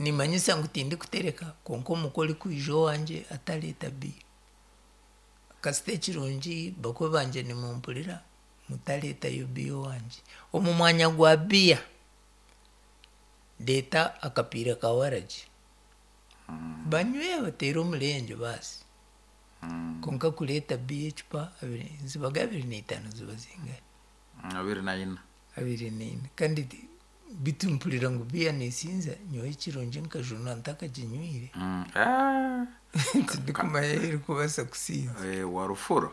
Nimanyisa ngu tindikutereka, kwonka omukwe orikwija owangye atareeta biya. Kasita ekirungi bakwe bangye nimumpurira, mutareetayo biya owangye. Omu mwanya gwa biya, reeta akapiira ka waragi. Banywe bateere omurengye baasi. Kwonka kureeta biya ecupa abiri, zibaga 25 ziba zingahi? 24. 24. Kandi bitu mpurira ngu biya neesinza, nyowe ekirungi nkajunwa ntakaginywire. Ah. Tindikumanya ahu erikubaasa kusinza. Wa rufuro.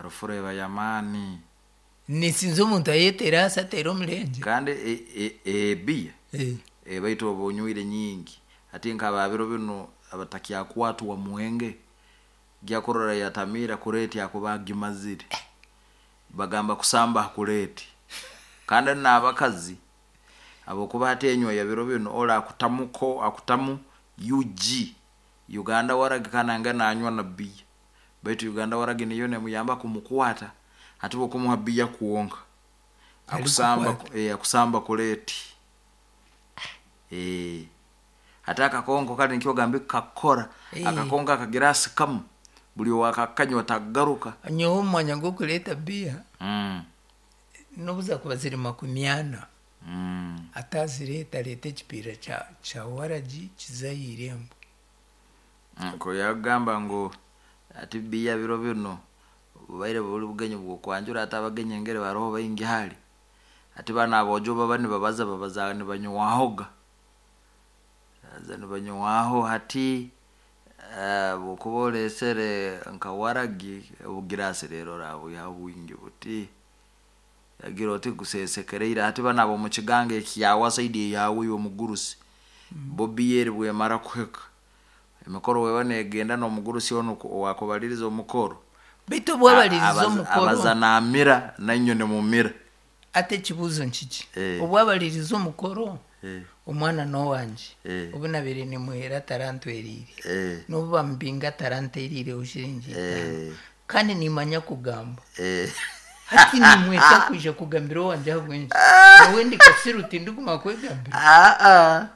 Rufuro eba y'amaani. Neesinza omuntu ayeteera ahansi ateere omurengye. Kandi ebiya baitu oba onywire nyingi. Hati nk'aba biro binu abatakyakwatwa mwenge, ojya kurora yatamiira kureeti akuba agimazire. Bagamba kusamba ha kureeti. Kandi n'abakazi habwokuba hati enywa ya biro binu oli akutamuko akutamu UG, Uganda waragi, kandi nangwa nanywa na biya. Baitu Uganda waragi niyo nemuyamba kumukwata. Hati bwokumuha biya kwonka, akusamba. Arikukwata. Akusamba kureeti. Hati akakonko kali nikyo gambe kakukora. Akakonko akagirasi kamu, buli owakakanywa takagaruka. Nyowe omu mwanya gw'okureeta biya, n'obu zaakuba ziri 40, atazireeta, areete ekipiira kya waragi kize aha irembo. Ko yagamba ngu ati biya biro binu bubaire buri bugenyi bw'okwanjura, ati abagenyi engeri baroho baingi hali, ati banu aboojo baba nibabaza babaza nibanywahoga, baza nibanywaho. Hati bwokuba oreesere nka waragi obugirasi, rero orabwihaho bwingi buti, yagira oti gusesekereire. Hati banu ab'omu kiganga ekyawa side eyawe iwe omugurusi, bo biya eri bwemara kuhika, emikoro weba negenda, n'omugurusi onu owakubaliriza omukoro Beitu obwabaliriza omukoro abaza namira, nainywe nimumira. Ati ekibuuzo nkiki, obwabaliriza omukoro, omwana n'owangye, obu nabaire nimuheera atarantweriire, n'obu bamubinga ataranteeriireho shiringi 5, kandi nimanya kugamba. Hati nimweta kwija kugambira owangye ahabw'enki? Nyowe ndi kasiru, tindikumanya kwegambira? Aa,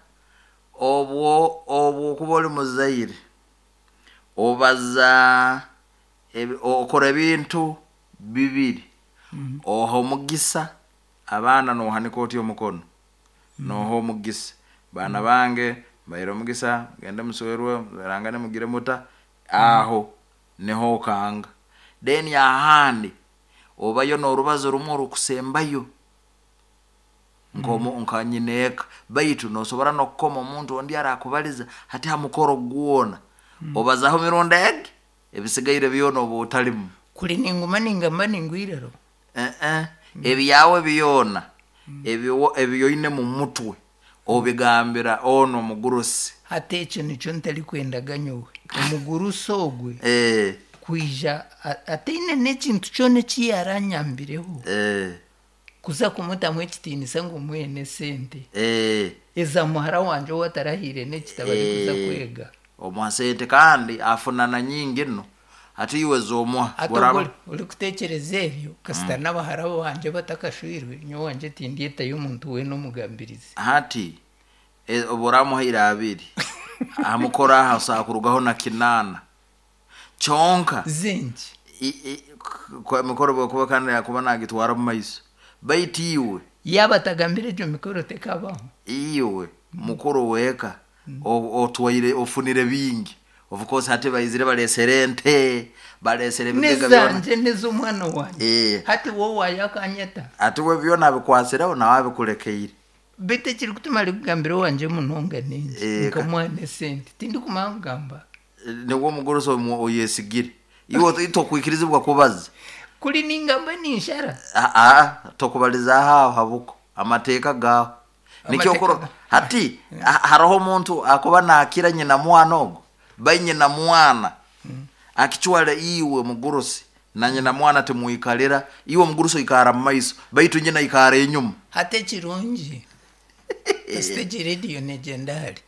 obwo okuba oli muzaire, obaza okora ebintu bibiri: oha omugisa abaana, nohanika oti omukono, noha omugisa, "Baana bange, mbaire omugisa, mugende muswerwe, muzarangane, mugire muta." Aho niho okanga. Then ahandi obayo n'orubazo rumwe orukusembayo nka nyineeka, baitu nosobora n'okukoma omuntu ondi arakubaliza. Hati ha mukoro gwona obazaho mirundi egi, ebisigaire byona oba otalimu. Kuri ninguma ningamba ningwa iraro. Eh, ebyawe byona ebi oine mu mutwe obigambira ono omugurusi. Hati ekyo nikyo ntarikwendaga nyowe, omugurusi ogwe kwija ataine n'ekintu kyona eki yaranyambireho, kuza kumutamu ekitiinisa ngu muhe n'esente eza muhara wangye ou atarahiire n'ekitabo arikuza kwega. Omuha sente kandi afunana nyingi nno, hati iwe z'omuha Hati buraba ogwo orikuteekyereza ebyo, kasita n'abahara bangye batakashwirwe, nyowe wangye tindyetayo omuntu weena omugambirizi. Hati obu oramuhaire 20 aha mukoro, aha osobola kurugaho na 8 kyonka. Zingi. Emikoro bwekuba kandi yakuba nagitwara omu maiso, baitu iwe Yaaba atagambire, egyo mikoro tekabaho. Iwe mukuru w'eka otwaire, ofunire bingi. Of course hati baizire balesere ente, balesere ebigega byona. N'ezangye n'ez'omwana wangye. Hati wowe waayakanyeta. Ati we byona abikwasireho, nawe abikulekeire. Beitu ekirikutuma arikugambira owangye munonga ningi nkamuha n'esente, tindikumanya kugamba. Niwe omugurusi oyesigire, iwe tokwikirizibwa kubaza. Kuri ningamba ninshara. Aa, tokubalizaho aho habuko amateeka gaho nikyo. Amateeka Hati haroho omuntu akuba nakira nyina mwana ogo, bai nyina mwana akicwale, iwe mugurusi na nyina mwana timwikalira. Iwe omugurusi oikara mu maiso, baitu nyina ikara enyuma. Hati ekirungi, kasita egi rediyo negyenda hare,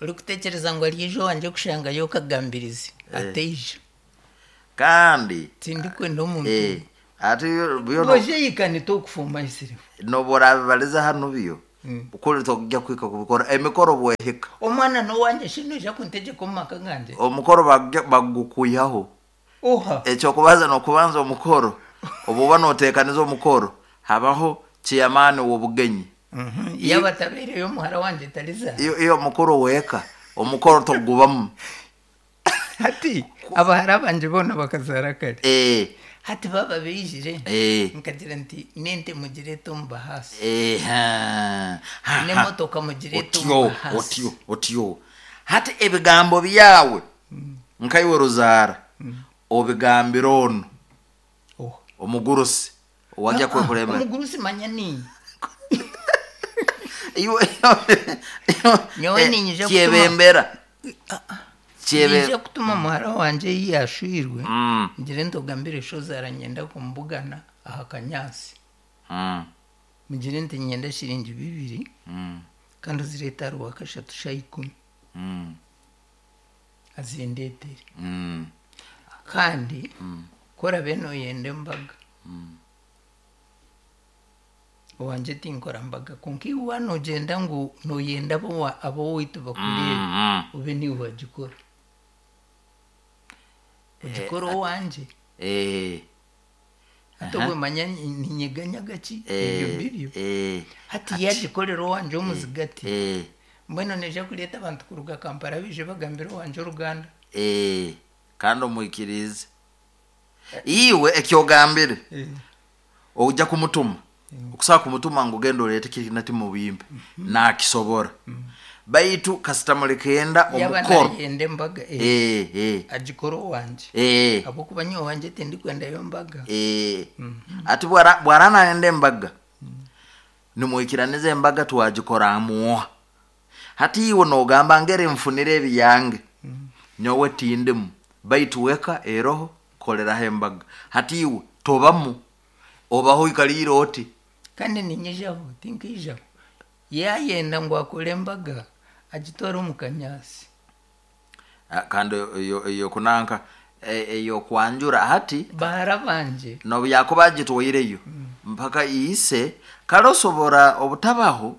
orikuteekyereza ngu aryaija owangye kushangayo okagambirizi, ateija. Kandi Tindikwenda omuntu ati byona Boje yikanita okufuma isirifu. Nobu orabibaliza hanu byo. Kuli tokujja kuhika kubikora emikoro bwehika. Omwana n'owangye shi noija kuntegyeka omu maka gangye? Omukoro bagukwihaho. Oha. Ekyokubanza nokubanza omukoro, obuba noteekaniza omukoro, habaho chairman w'obugenyi. Yaba atabaireyo omuhara wangye tarizaara. Iyo omukuru w'eka, omukoro togubamu. Hati abahara bangye boona bakazaara kare. Hati baba baijire, nkagira nti n'ente mugireete omu bahaasi. N'emotoka mugireete omu bahaasi. Otyo, otyo. Hati ebigambo byawe nkaiwe ruzaara obigambira onu omugurusi owajja kwekurembera. Omugurusi manya niinye. Nyowe niinyija kutuma Kyebembera. Niinyija kutuma muhara wangye ei yaashwirwe, ngire nti ogambire shozaara nyenda kumubugana aha kanyaasi. Mugire nti niinyenda shiringi 2 kandi ozireete aha Rwakashatu shaaha 10. Azindeetere. Kandi ku orabe nooyenda embaga, owangye tinkora mbaga kwonka iwe waaba noogyenda ngu nooyenda ab'owaitu bakureebe, obe niiwe wagikora. Ogikore owangye. Hati obwe manya ninyeganyaga ki ebyo mbibyo. Hati yagikorera owangye omuzigati, mbwenu noija kureeta abantu kuruga Kampala baije bagambire owangye oruganda. Kandi omwikiriize. Iwe ekyogambire, ojja kumutuma, okusobola kumutuma ngu genda oreete kiri nati mubimpe, nakisobora. Baitu kasita mulikenda Yaba omukoro. nayenda embaga, agikore owangye. Ahabw'okuba nyowe owangye tindikwendayo mbaga. Ati bwara nayenda embaga, nimwikiraniza embaga twagikora amuoha. Hati iwe nogamba ngeri nfunire ebiyange, nyowe tindimu, baitu weka eroho koleraho embaga. Hati iwe tobamu, obaho oikaliire oti. Kandi ninyijaho, tinkaijaho. Yayenda ngu akore embaga, agitware omu kanyaasi. Kandi eyo kunanka, eyo kwanjura hati. Bahara bangye. Nobu yakuba agitwaireyo, mpaka ise, kale osobora obutabaho,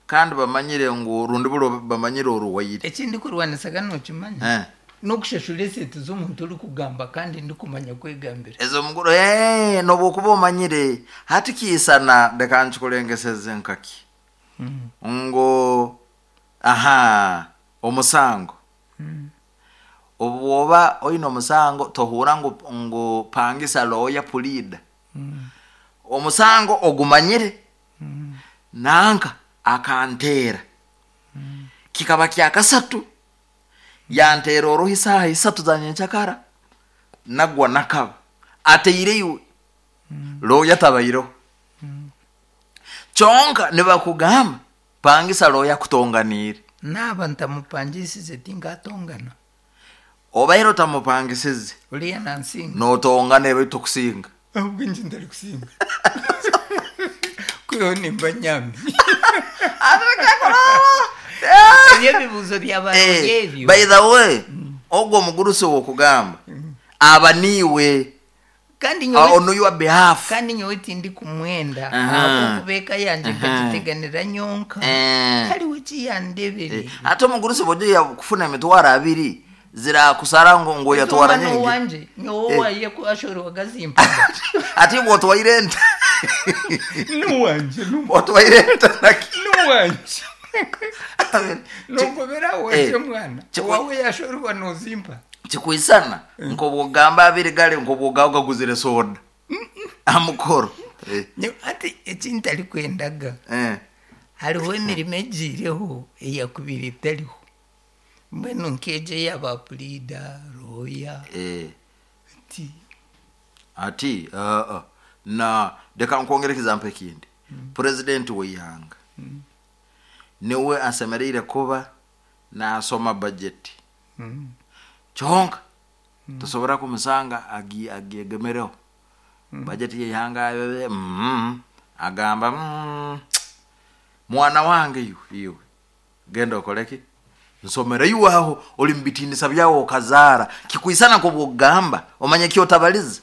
kandi bamanyire ngu rundi buro bamanyire oruwaire. Eki ndikurwanisaga nokimanya? N'okushashura esente z'omuntu orikugamba kandi ndikumanya kwegambira. Ezo muguru, nobu okuba omanyire, hati kiisana reka nkikurengeseze nkaki. Ngu, aha, omusango. Obu oba oine omusango, tohura ngu pangisa lawyer pleader. Omusango ogumanyire, nanka akanteera. Kikaba kya kasatu, yanteera oruhi saaha 3 za nyenkyakara, nagwa nakaba. Ateire iwe, lawyer tabaireho. Kyonka nibakugamba, pangisa lawyer akutonganiire. Naaba ntamupangisize tinkatongana. Obaire otamupangisize. Oriya nansinga. Notongana ebyo tokusinga. Ahubwo nje ntarikusinga. Kwihaho nimba nyami. Ebyo ebibuuzo bya baroya ebyo. By the way, ogwo omugurusi wokugamba, aba niiwe. Kandi nyowe On your behalf. Kandi nyowe tindikumwenda. Ahabw'okuba eka yangye nkagiteganira nyonka. Hariho ekiyandebereye. Ate omugurusi bw'ojya kufuna emitwaro 2 zirakusara ngu yatwara Omwana nyingi. owangye, nyowe owaye ku ashorwaga zimpaga. Ate bw'otwaire ente. N'owangye, Bw'otwaire ente naki? N'owangye. Nogobera owangye mwana. Owawe yashorwa nozimpa. Kikwisana nk'obwogamba 2 gale nk'obwogaho gaguzire soda. Amukoro. Ati eki ntarikwendaga. Hariho emirimo egiireho eyakubire etariho. Mbwenu nk'egyo eyaba puriida, lawyer. Ati. Ati, na reka nkwongere example ekindi. President w'eihanga niwe asemereire kuba nasoma budget. Kyonka tosobora kumusanga agyegemereho. Budget y'eihanga agamba, mwana wange iwe genda okoreki? Nsomere iwe aho ori mubitinisa byawe okazaara. Kikwisana nk'obwogamba omanye kyotabaliza.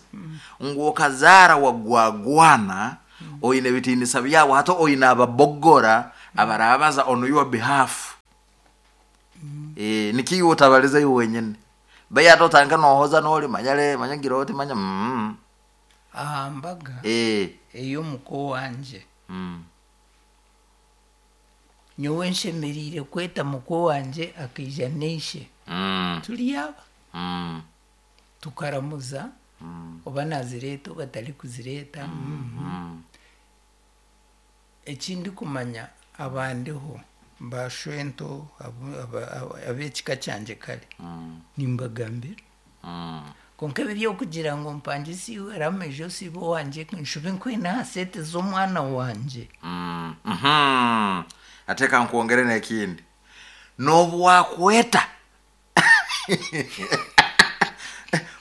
Ngu okazaara wagwagwana Oine ebitinisa byawe, hata oine ababogora abarabaza on your behalf. Nikiiwe otabaliza iwe wenyine, bai ate otandika nohoza noli manyale manyagira oti manya Aha mbaga ey'omuko wangye, nyowe nshemereire kweta muko wangye akaija n'eishe, turi aba, tukaramuza, oba nazireeta oba tarikuzireeta. Ekindikumanya, abandiho bashwento ab'ekika kyangye kare nimbagambira. Konka ebi ebyokugira ngu mpangise iwe ramejo osiibe owangye, nshube nkwine aha sente z'omwana wangye. Ate kankwongere n'ekindi, n'obu wakweta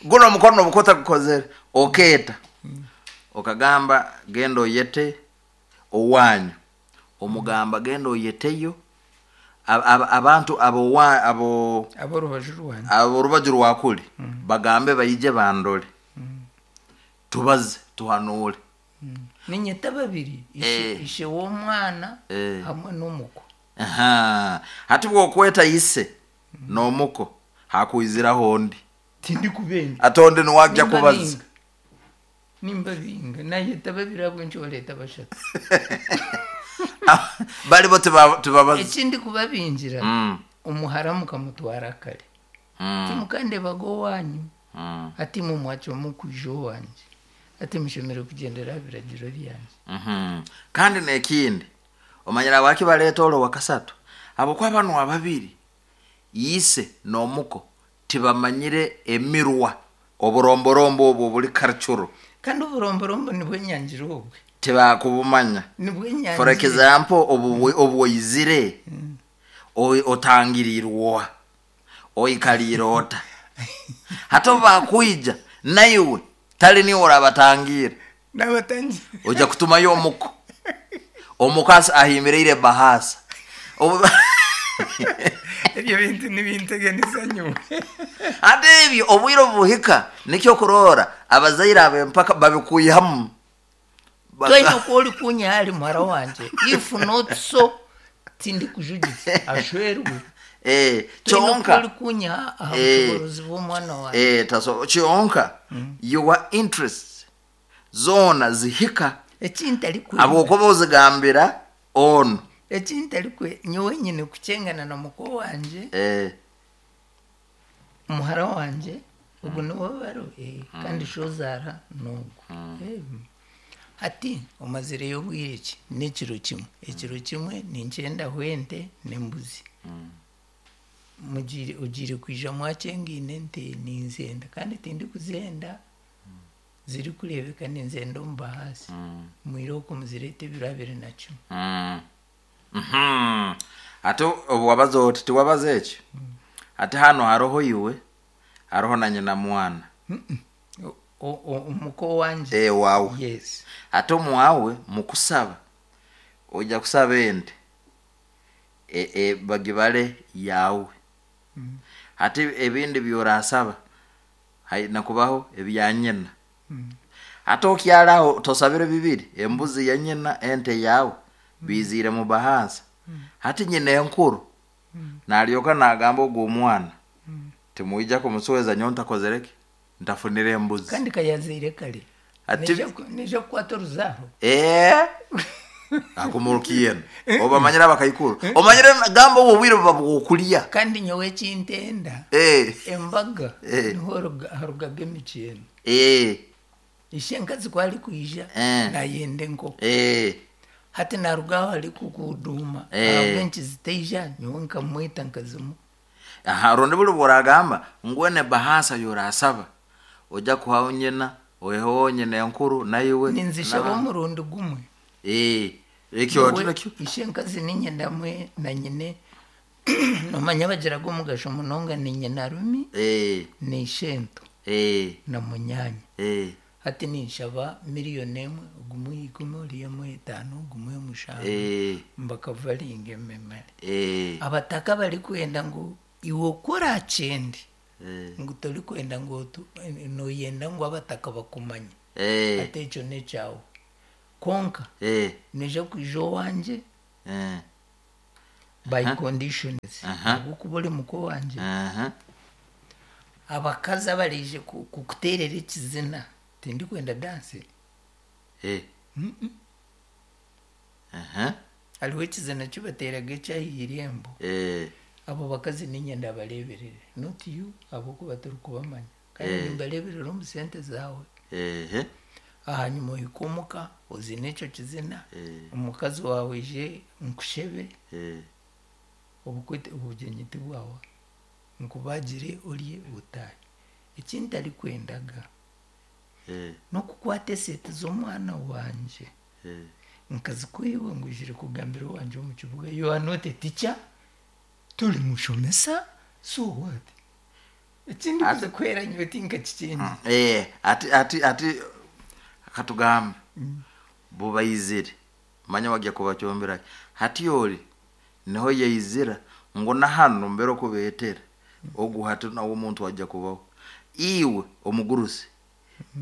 guno omukono obukuba otagukozere, okeeta okagamba genda oyete owanyu, omugamba genda oyeteyo abantu abo abo Ab'orubaju rwangye. Aborubaju rwakuli, bagambe baije bandole, tubaze, tuhanure. Ninyeta babiri, ishe w'omwana hamwe n'omuko. Aha. Hati bwokweta ise n'omuko, hakwiziraho ondi. Tindikubenda. Ate ondi niwajja kubaza. Nimbabinga. Nimbabinga, nayeta babiri, ahabw'enki oreeta bashatu? Bali bo tibabaza. Ekindi kubabingira, omuhara mukamutwara kare, timukandebaga owanyu. Ati imwe mwacwamu kwija owangye, ati mushemereire kugyendera aha biragiro byangye. Kandi n'ekindi, omanyire habwaki baleeta ori owakasatu? Habwokuba banu ababiri, ise n'omuko, tibamanyire emirwa, oburomborombo obwo obuli cultural. Kandi oburomborombo nibwo nyangire obwe. Tibakubumanya. Nibwo nyangire. For example, obu obwoizire, otangirirwa oikaliire ota? Hati obu bakwija naiwe tali niwe orabatangira. Nabatangira. Ojja kutumayo omuko, omuko ahimireire bahasa. Ebyo bintu nibinteganisa nyowe. Ate ebyo obwire obuhika, nikyo kurora abazaire ab'empaka babikwihamu. Toine oku ori kunyiha ahari muhara wangye, if not so tindikujugisa ashwerwe. Toine oku Kyonka ori kunyiha aha bushoborozi bw'omwana wangye. Taso kyonka your interests zoona zihika Ekintarikwenda, habwokuba ozigambira onu. Ekintarikwe, nyowe nyine kukyengana na muko wangye, muhara wangye ogu niwe baro, kandi shozaara n'ogu. Hati omazireyo obwire ki? N'ekiro kimwe, ekiro kimwe ninkyendaho ente n'embuzi. Mugiire, ogiire kwija mwakyengaine ente ninzenda, kandi tindikuzenda zirikureebeka, ninzenda omu bahaasi. Mwire okwo muzireete ebiro 21. Ate obu wabaza oti tiwabaza ekyo, ate hano haroho iwe, haroho na nyina mwana. Omuko wangye. Wawe. Yes. Ate omwawe mukusaba, ojja kusaba ente bagibale yawe. Hati ebindi byorasaba haina kubaho ebya nyina. Ate okyaraho tosabire bibiri, embuzi ya nyina, ente yawe, biziire mu bahasa. Hati nyina enkuru nalyoka nagamba ogwo omwana timwija kumusweza nyowe ntakozereki, ntafunire embuzi. Kandi kayazaire kare. Neija kukwata oruzaaro. Akumurukiyena obamanyire abakaikuru, omanyire gamba obwo obwire buba bwokulya. Kandi nyowe ekintenda, embaga niho harugaga emikyeno. Ishenkazi ku arikwija, nayenda enkoko. Hati naruga aho ari kukuduma, ahabw'enki zitaija nyowe nkamweta nkazimuha? Aha, rundi buli bworagamba ngwene bahasa yorasaba, ojja kuhaho nyina, oheho nyina enkuru naiwe. Ninzishaba omurundi gumwe. Ekyo Nyowe, nakyo. Ishenkazi ninyenda mwe na nyine, nomanya bagiraga omugasho munonga, ni nyina rumi, ni ishento, na munyanya. Hati ninshaba 1 million, ogumwe 10, oriya amuhe 5, ogumwe 7, mbakavaringa ememere. Abataka barikwenda ngu iwe oku orakyende, ngu torikwenda ngu noyenda ngu abataka bakumanye. Ate ekyo n'ekyawe. Konka nija kwija owangye by conditions, ahabw'okuba ori muko wangye. Abakazi abaraije kukuteerera ekizina, tindikwenda dance. Hariho ekizina kibateeraga eky'aha irembo. Abo bakazi niinye ndabareeberere, not you, ahabw'okuba torikubamanya. Kandi nimbareeberera omu sente zaawe. Ahanyuma ohike omuka ozine ekyo kizina, omukazi waawe aije nkushebe, obukwe obugyenyi tibwahwa. Nkubagire orye otaahe. Eki ntarikwendaga n'okukwata esente z'omwana wangye nkazikuha iwe ngu oizire kugambira owangye omu kibuga. You are not a teacher, tori mushomesa, so what? Ekindi kuzikuhera nyowe tinkakikyengire. Ati katugambe bubaizire, manya wajya kubacumbira ki? Hati ori niho yaizira ngu na hanu mbere okubeetera ogu hati nawe omuntu ajya kubaho. Iwe omugurusi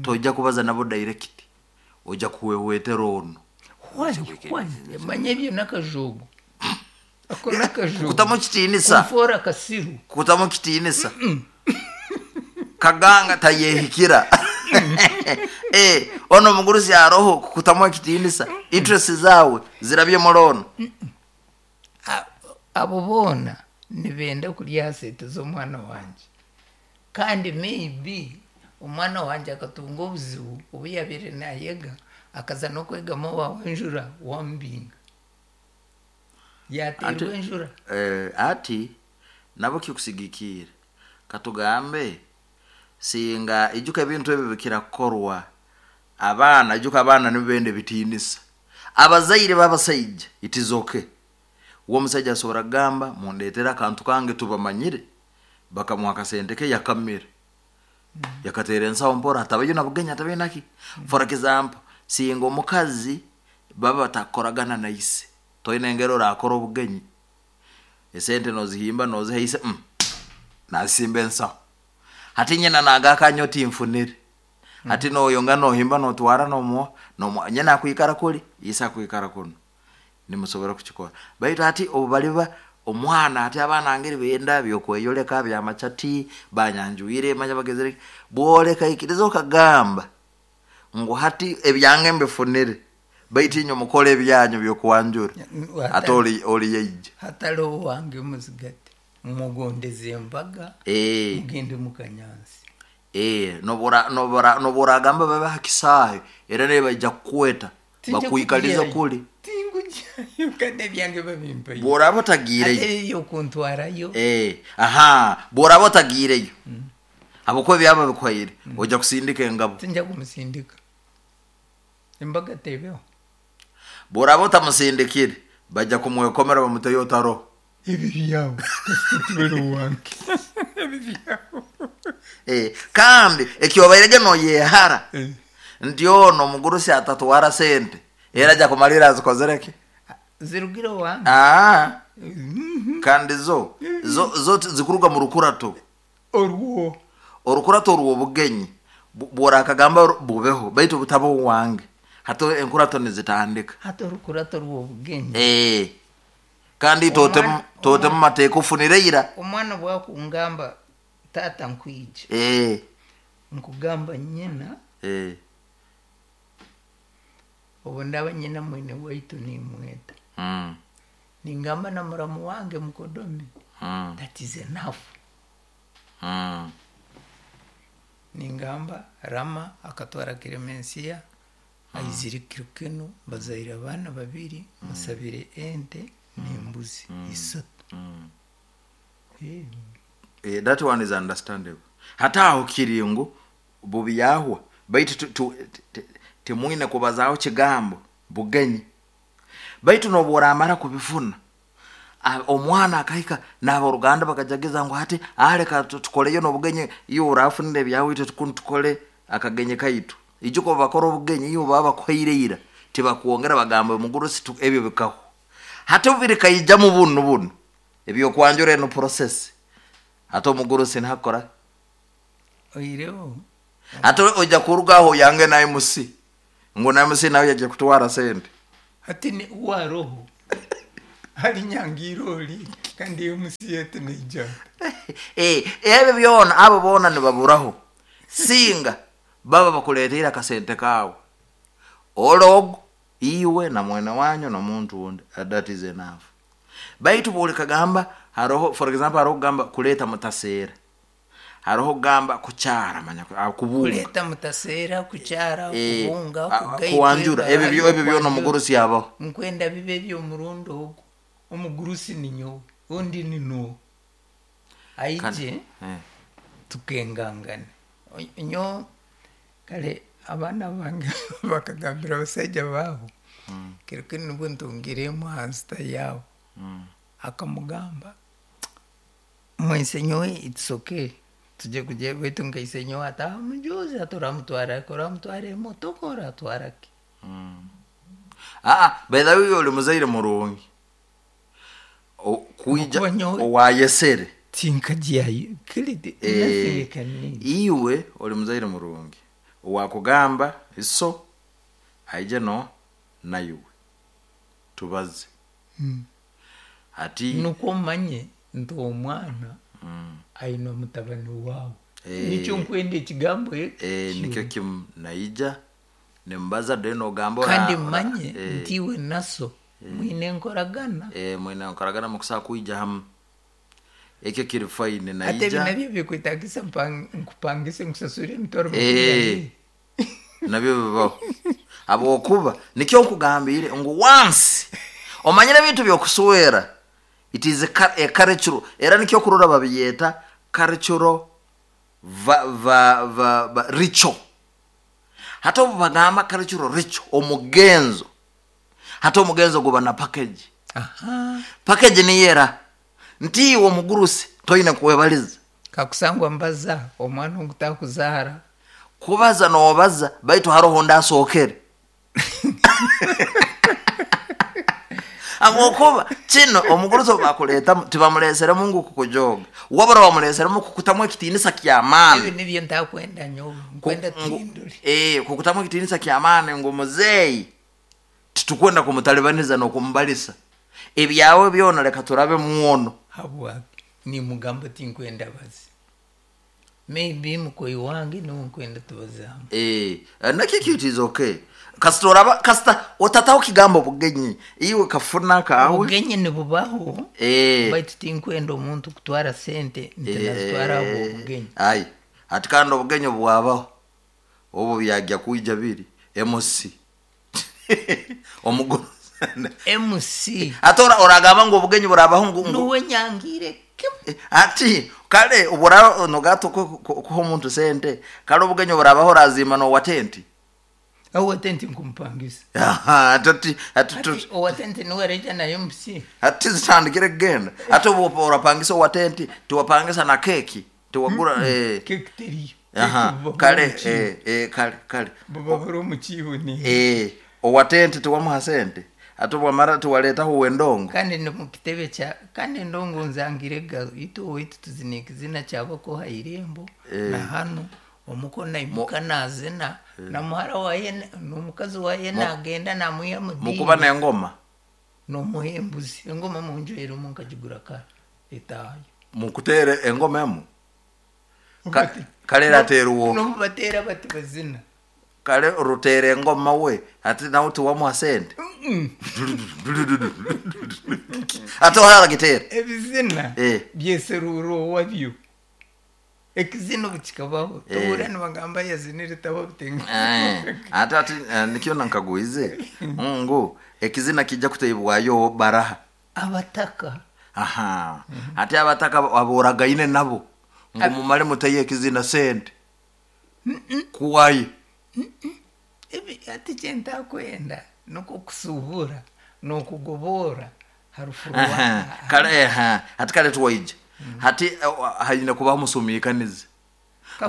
tojja kubaza nabo direct, ojja kuhwehwetera onu. Why? Why? Manya ebyo n'akajoogo. Ako n'akajoogo. Kutamu kitiinisa. Kunfoora akasiru. Kutamu kitiinisa. Kaganga tayehikira. Ono omugurusi aroho kukutamu ekitiinisa, interest zaawe zirabye muri ono. Abo boona nibenda kurya aha sente z'omwana wangye. Kandi maybe omwana wangye akatunga obuzibu obu yabaire naayega, akaza n'okwegama owaawe enjura wamubinga. Yaateerwa enjura. Ati nabo kikusigikiire, katugambe singa ijuka ebintu ebi bikira kukorwa abaana, ijuka abaana nibo benda ebitiinisa. Abazaire b'abasaija it is okay. We omusaija asobora kugamba mundeetere akantu kange tubamanyire, bakamuha akasente ke yakamira. Yakateera ensaho mpora hatabayo na bugenyi hatabayo naki. For example, singa omukazi baba batakukoragana na ise, toine engeri orakora obugenyi, esente nozihimba noziha ise, nazisimba ensaho. Hati nyina nagaruka nyowe tinfunire. Hati noyongera nohimba notwara nomuha, nomuha, nyina akwikara kuri, ise akwikara kunu. Nimusobora kukikora. Baitu hati obu baliba omwana, hati abaana ngeri benda byokweyoleka byamachati, banyanjwire, manya bagezere, bwoleka ikiriza okagamba ngu hati ebyange mbifunire, baitu inywe mukole ebyanyu byokwanjura. Hati ori yaija. Hatariho owange muzigate, mugondeze embaga, mugende mukanyansi. Nobu oragamba babe ha kisaahe, era nibaija kukweta, bakwikaliza kuri. Tingugyayo kandi ebyange babimpaire. Bw'oraba otagiireyo. Ate ebyokuntwarayo. Aha, bw'oraba otagiireyo, habwokuba ebyabo babikuhaire, ojja kusindika engabo. Tinjya kumusindika. Embaga tebeho. Bw'oraba otamusindikire, bajja kumwekomera bamuteyo otaroho. Ebi byawe, kasita tibari owange. Ebi byawe. Kandi ekyobairege noyehara, nti ono omugurusi atatwara sente, era ajja kumalira azikozere ki? Zirugire owange. Kandi zo zikuruga mu rukurato. Orwo. Orukurato orw'obugenyi bw'orakagamba bubeho, baitu butaba owange. Hati enkurato nizitandika. Hati orukurato rw'obugenyi. Kandi tootemu mateeka ofunire ira. Omwana bwakungamba taata nkwija. Nkugamba nyina. Obu ndaba nyina mwene waitu nimweta. Ningamba na muramu wange mukodomi. That is enough. Ningamba Rama akatwara Clemencia, aizire kiro kinu, bazaire abaana babiri, musabire ente n'embuzi isatu. That one is understandable. Hati aho kiri ngu bubyahwa, baitu timwine kubazaho kigambo bugenyi. Baitu nobu oramara kubifuna, omwana akahika n'aboruganda bakajagiza ngu hati aleka tukoleyo n'obugenyi, iwe orafunire ebyawe itwe tukole akagenyi kaitu. Ijuka obu bakora obugenyi iwe baba bakuhaire ira, tibakwongera bagamba omugurusi ebyo bikaho. Hati obu birikaijamu bunu bunu, ebyokwanjura eno process, hati omugurusi nihakora? Oireho. Hati ojja kuruga aho oyange na MC. Ngu na MC nawe yagiye kutwara sente. Hati ni waroho hali nyangiroli kandi MC yetu naija. Ebyo byona abo bona nibaburaho singa baba bakuleetera akasente kawe ologo iwe na mwene wanyu nomuntu wundi, that is enough. Baitu buli kagamba haroho, for example, haroho kugamba kuleta mutaseera, haroho kugamba kukyara manya kubunga, kuleta mutaseera, kukyara, kubunga, kugaitwa, kuwanjura, ebyo ebyo byona omugurusi yabaho. Nkwenda bibe by'omurundi ogwo omugurusi ni nyowe, undi ni nuwe aije tukengangane. Nyo kale abaana bange bakagambira abasaija baabo, kiro kinu nibwo ntungiremu hansita yaabo, akamugamba mwese nyowe it's okay tujye kujya baitu nkaise nyowe ataha mujuzi ati oramutwara ki, oramutwara emotoka oratwara ki? By the way, oli muzaire murungi kuija Okuba nyowe- owayesere tinkagyayo kale nothing can need. Iwe oli muzaire murungi owakugamba iso aije no naiwe tubaze ati nukwo omanye nti omwana aine omutabani waawe. Nikyo nkwenda ekigambo ekyo. Nikyo kimu naija nimbaza then ogamba kandi mmanye nti iwe naso mwine enkoragana. Mwine enkoragana mukusobola kwija hamu, ekyo kiri fine. Ate ebi Naija nabyo bikwetagisa nkupangise nkusasure emitwaro 20. Nabyo bibaho habwokuba nikyo nkugambire ngu once omanyire ebintu byokuswera, it is a cultural, era nikyo kurora babiyeta cultural va ritual. Hati obu bagamba cultural ritual, omugenzo, hati omugenzo guba na package. Package niyera nti iwe omugurusi toine kwebaliza. Kakusangwa mbaza omwana ogutakuzara. Kubaza nobaza, baitu haroho ndasookere habwokuba kino omugurusi obu bakuleetamu tibamuleeseremu ngu kukujoga, wabura bamuleeseremu kukutamu ekitiinisa ky'amaani. Ebi nibyo ntakwenda nyowe, nkwenda tuhindure. Kukutamu ekitiinisa ky'amaani ngu muzeeyi titukwenda kumutalibaniza n'okumubalisa ebyawe byona, leka turabe mwono. Habwaki nimugamba tinkwenda bazi, maybe mukoyi wange niwe nkwenda tubazamu. Nakyo it is okay, kasita oraba kasita otataho kigambo bugenyi, iwe kafuna kawe. Obugenyi nibubaho, baitu tinkwenda omuntu kutwara sente nti nazitwara abo obugenyi. Ai ati kandi obugenyi bwabaho obu byajya kwija biri MC omuguru MC. Ate oragamba ngu obugenyi burabaho ngu nuwe nyangire kimu. Ati kale obura nogato kuha omuntu sente, kale obugenyi burabaho orazima nowa tenti. Owa tenti nkumpangisa. Aha, ati ati owa tenti niwe areja na MC. Ati zitandikire kugenda, ate obu orapangisa owa tenti tiwapangisa na keki tiwagura. Keki teriyo. Aha, Keki buba kale buri omu kiibo. Kale kale. Buba buri omu kiibo ni owa tenti tiwamuha sente, ate bwamara tiwaletaho wendongo. Kandi ni mu kitebe kya kandi endongo nzangire ga itu waitu tuzina ekizina kyabako ha irembo. Na hanu omuko naimuka nazina na muhara waye n'omukazi waye nagenda namwiha mu mukuba dini. N'engoma. N'omuhembuzi engoma munju erimu nkagigura kare etayo. Mukutere engoma emu. Kale ratera uwo. Nomubatera bati bazina. Kale rutere engoma we ati nawe tiwamuha sente ate oharagitera. Ebizina byeserura owabyo, ekizina obu kikabaho tohurra nibagamba yazinire taba butenga. Ate ati nikyo nankagwize ngu ekizina kijja kuteibwayo baraha. Abataka. Aha, ate abataka aboragaine nabo ngu mumale muteye ekizina sente kuwaye. Ebi ati kyentakwenda nukwo kusuubura n'okugobora harufu. Aha, kale aha, ati kale tuwaija hati haine kubaho musumikanize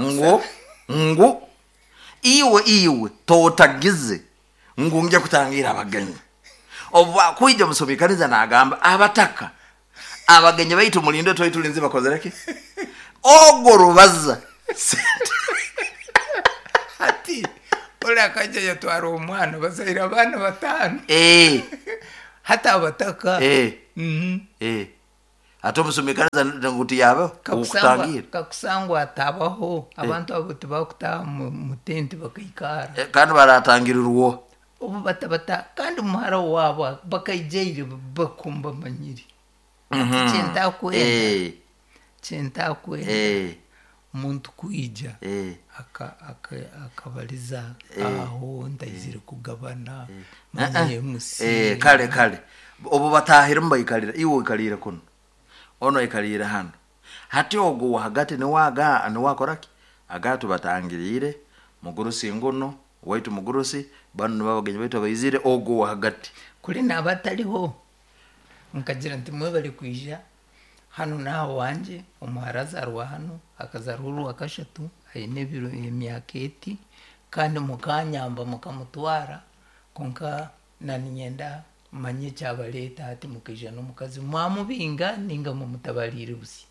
ngu ngu iwe totagize ngu nje kutangira abagenyi, obu kwija musumikaniza nagamba abataka abagenyi baitu mulinde twai tulinzi bakozereki ogwo rubaza Ati Omunyakole akajja yatwara omwana, bazaire abaana 5. Hati abataka. Ate omusumikariza ngu tiyabeho okutangira. Kakusangwa atabaho, abantu abo tibakutaha mu tenti bakaikara. Kandi baratangirirwo. Obu batabata kandi muhara wabo bakaijaire bakumba manyiri. Kyentakwenda. Omuntu kwija akabaliza aho ntaizire kugabana manye MC. Kale obu batahire mubaikalira, iwe oikalire kuno, ono aikalire hano, hati ogwo wahagati niwaga niwakoraki aga tubatangirire mugurusi nguno waitu mugurusi bano nibo abagenyi baitu abaizire ogwo wahagati kuri naba atariho nkagira nti mwebale kwija hano naha wanje omuhara azarwa hano akazarwa orwa kashatu aine ebiro emyaka eti kandi mukanyamba mukamutwara konka naninyenda manye ekyabareeta hati mukaija n'omukazi mwamubinga ninga mumutabarire busi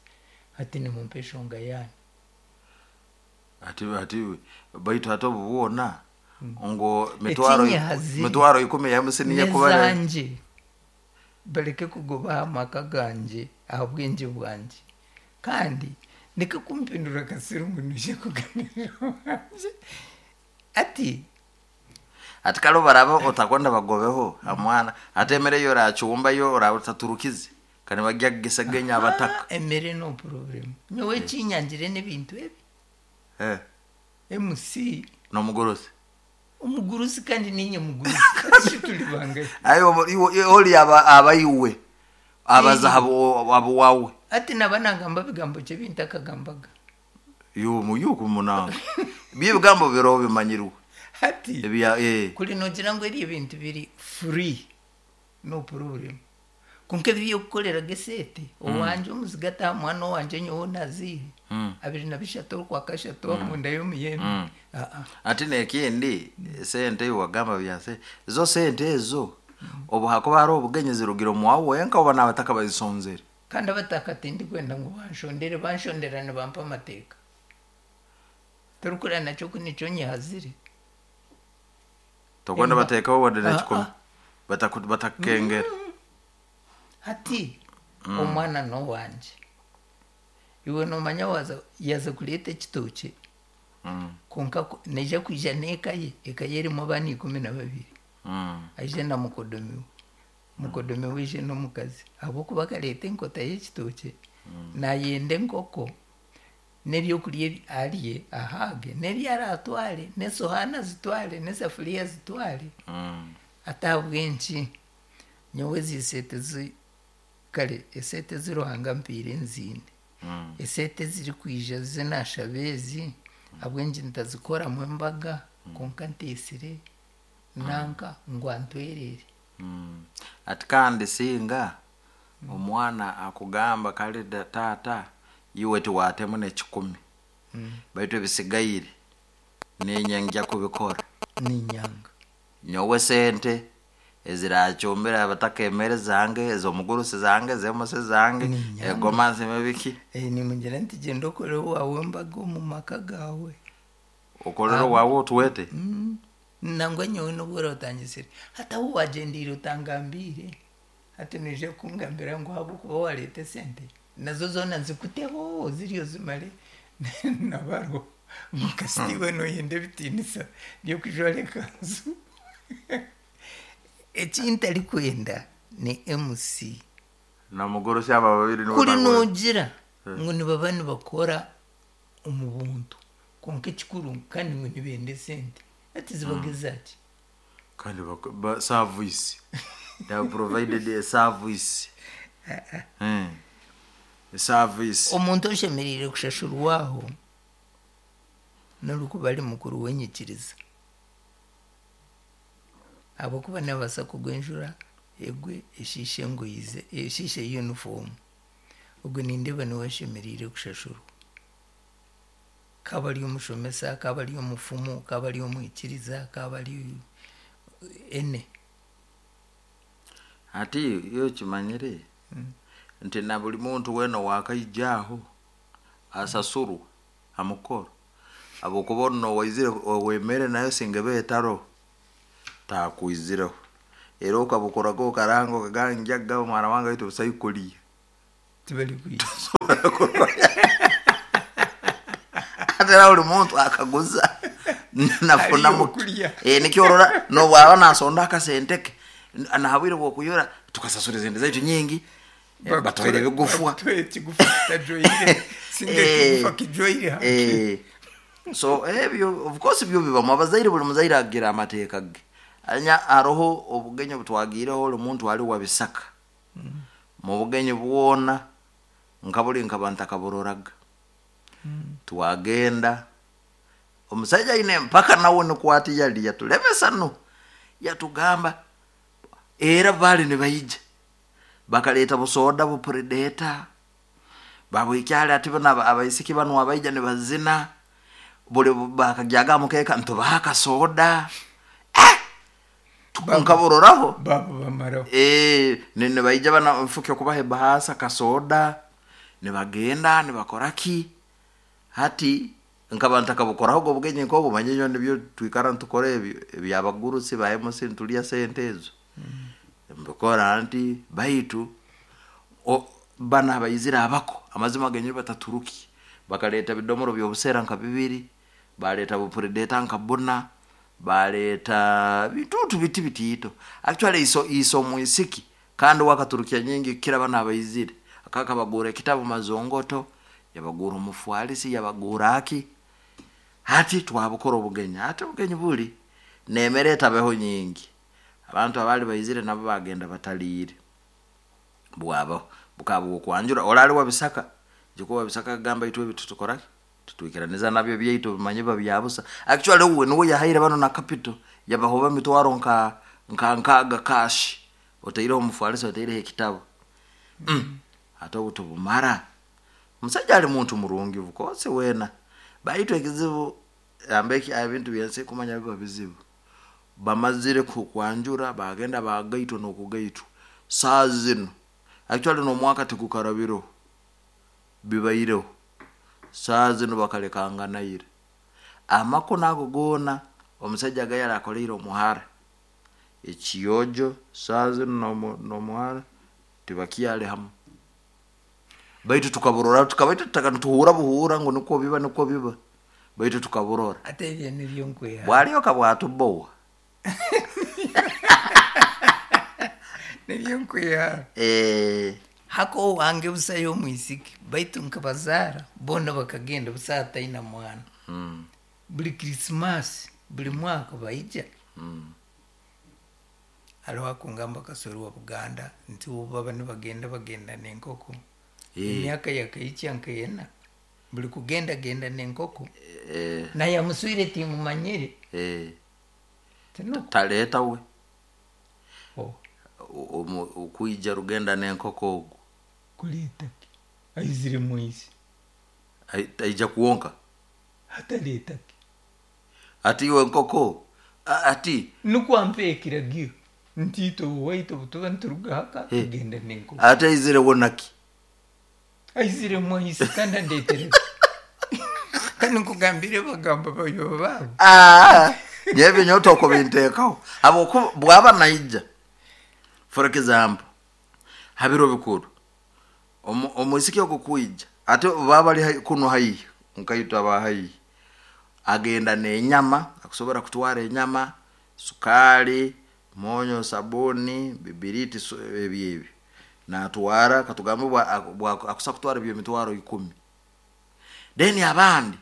hati nimumpa eshonga yanyu. Ati baitu hati obu bwona ngo mitwaro 10 ya MC niye kubara nezanje bareke kugoba amaka ganje ahabwenge bwanje kandi ndeke kumpindura kasiru ngu nije kuganira wanje ati ati kale baraba otakwenda bagobeho amwana ate emere yo orachumba yo orataturukize kandi bajya gisegenya abataka emere no problem nyowe kinyangire n'ebintu ebi MC no mugurusi omugurusi kandi ninye mugurusi tuli bangaye ayo oli abayiwe abaza abo wawe ati nabanagamba bigambo kye bintakagambaga yo muyuko munanga bigambo biro bimanyirwe hati kuri nogira ngo eri ebintu biri free no problem konke byo kukorera gesete owanje omuzigata mwana wanje nyowe nazihe 23 kwa kashatu munda y'omuyembe. Ati nekindi sente wagamba byase zo sente ezo obu hakuba hari obugenyi zirugiro mwawe enka oba nabataka bazisonzere kandi abataka tindi kwenda ngo banshondere banshondera ne bampa amateka turukura nacyo kunico nyihazire tokwenda bateka wadde nekikumi batakengera hati omwana no wanje iwe nomanya yaza kuleta ekitoke konka neija kwija n'eka ye eka ye erimu abaana 12 aije na mukodomi we wije n'omukazi ahabwokuba akareta enkota y'ekitoke nayenda enkoko n'ebyokurya arye ahage n'ebi aratware n'esohaani azitware n'esafuriya azitware atabwenki nyowe ezi kare esente ziruhanga mpiire nzine esente zirikwija zinashaba ezi abwengi ntazikoramu embaga konka nteesire nanka ngu antwerere. Ati kandi singa omwana akugamba kale tata iwe tiwatemu ne10 baitu ebisigaire ninye nja kubikora ninyanga nyowe sente ezirachumbira abataka emere zange ezomugurusi zange zemose zange egoma nzime biki nimugira nti genda okore wawe embaga omu maka gawe okorere wawe otuwete nangwa nyowe nobwora otangisire hati ahu wagendeire otangambire hati noija kungambira ngu ahabwokuba wareeta esente nazo zoona nzikuteho ziriyo zimare nabaro mukasitiwe noyenda ebitiinisa byokujwara ekanzu. Ekintarikwenda ni MC na mugurusi aba babiri kuri nogira ngu nibaba nibakora omu buntu konka ekikuru kandi ngu nibenda esente ati zibaga ezaki kandi service they have provided a service service omuntu oshemereire kushashurwaho n'orikuba ari mukuru w'enyikiriza ahabwokuba nabaasa kugwa enjura egwe eshiishe engoyi eshiishe uniform ogwe nindeeba niwe ashemereire kushashurwa kaba ari omushomesa kaba ari omufumu kaba ari omwikiriza kaba ari ene. Hati yo kimanyire nti na buli muntu wena wakaijaho asasurwa amukoro Habwokuba onu nowaizire owemere nayo singa eba etaroho, taakwizireho. Era okabukoraga okaranga okagamba ningya kugaba mwana wange baitu busaho kulya. Tibali kwija. Ate era buli muntu akaguza nafuna Haliyo muke. okulya. Nikyo orora nobwaba nasonda akasente ke, nahabwire bwokuyora tukasasura esente zaitu nyingi, batuhaire ebigufwa. Bakutuha ekigufa kitajwaire. Singa ekigufa kijwaire haki. So ebyo of course byo bibamu. Abazaire, buli muzaire agira amateeka ge. Anya haroho obugenyi obutwagiireho oli muntu ali wa Bisaka. Mu bugenyi bwona nka buli nkaba ntakaburoraga. Twagenda, omusaija aine empaka nawe nikwo ati yali yatulemesa nu. Yatugamba era baali nibaija bakaleeta busoda bupredator, babwikyali ati bano abaisiki banu abaija nibazina, buli bakagyaga aha mukeeka nitubaha akasoda. Nkaburoraho. Babo bamaraho. Nibaija bana nfuke kubaha ebahaasa kasoda, nibagenda nibakora ki. Hati nkaba ntakabukorahoga obugenyi nk'obu, manya nyowe nibyo twikara nitukora ebyo ebyabagurusi ba MC nitulya sente ezo. Mbikora nti baitu banu abaizire abako amazima genyini bataturuki. Bakaleeta ebidomoro by'obusera nka bibiri, baleeta bupredator nka buna, baleeta bitutu biti bitiito. Actually iso iso omwisiki kandi we akaturukya nyingi kukira banu abaizire. Akabagurra ekitabu mazongoto, yabagurra omufwalisi, yabagurra aki. Hati twabukora obugenyi, hati obugenyi buli n'emere etabeho nyingi. Abantu abaali baizire nabo bagenda bataliire. Bwabaho bukaba bw'okwanjura, oli ali wa Bisaka, jukwa wa Bisaka akagamba itwe ebi tutukora ki? Tutwikiraniza nabyo byaitu bimanye biba bya busa. Actually uwe nuwe yahaire banu na capital, yabaha oba emitwaro nka nkaaga cash, otaireho omufwalisi, otaireho ekitabu. Hati obu tubumara, omusaija ali muntu murungi of course weena, baitu ekizibu ambeki ebintu byensi kumanya biba bizibu. Bamazire kwanjura bagenda bagaitwa n'okugaitwa. Saaha zinu, actually n'omwaka tigukarabireho, bibaireho. Saaha zinu bakalekanganaire. Amakune ago goona omusaija aga yali akoleire omuhara, ekyojo saaha zinu n'omuhara tibakyali hamu. Baitu tukaburora, tukaba itwe nituhuura buhuura ngu nikwo biba nikwo biba, baitu tukaburora. Ate ebyo nibyo nkweha. Bwalyoka bwatubowa. Nibyo nkweha. Hako owange busayo omwisiki, baitu nkabazaara boona bakagenda busa ataina mwana. Buli Christmas, buli mwaka baija. Hariho akungamba Kasori wa Buganda nti obu baba nibagenda bagenda n'enkoko. Emyaka yakaikya nkeena, buli kugenda genda n'enkoko. Naye amuswire timumanyire. Tinuko. Taleeta we. Oh. Okwija rugenda n'enkoko ogu. Kuleeta ki? Aizire mwisi. Aija kwonka. Ataleeta ki? Ati iwe enkoko ati. Nukwo ampe ekiragiro nti itwe owaitu obu tuba nituruga haka tugenda n'enkoko. Ati aizire we naki? Aizire mwisi kandi andeetere. Kandi nkugambire bagamba bayoba baabo. Nyowe nyowe tokubinteekaho. Habwokuba bwaba naija, for example, ha biro bikuru, omwisiki ogu kwija, ate baba bali kunu haihi, nkaitwe aba haihi, agenda n'enyama, akusobora kutwara enyama, sukaali, mwonyo, sabuni, bibiriti, ebyo ebyo. Natwara, katugambe akusa kutwara eby'emitwaro 10. Then abandi,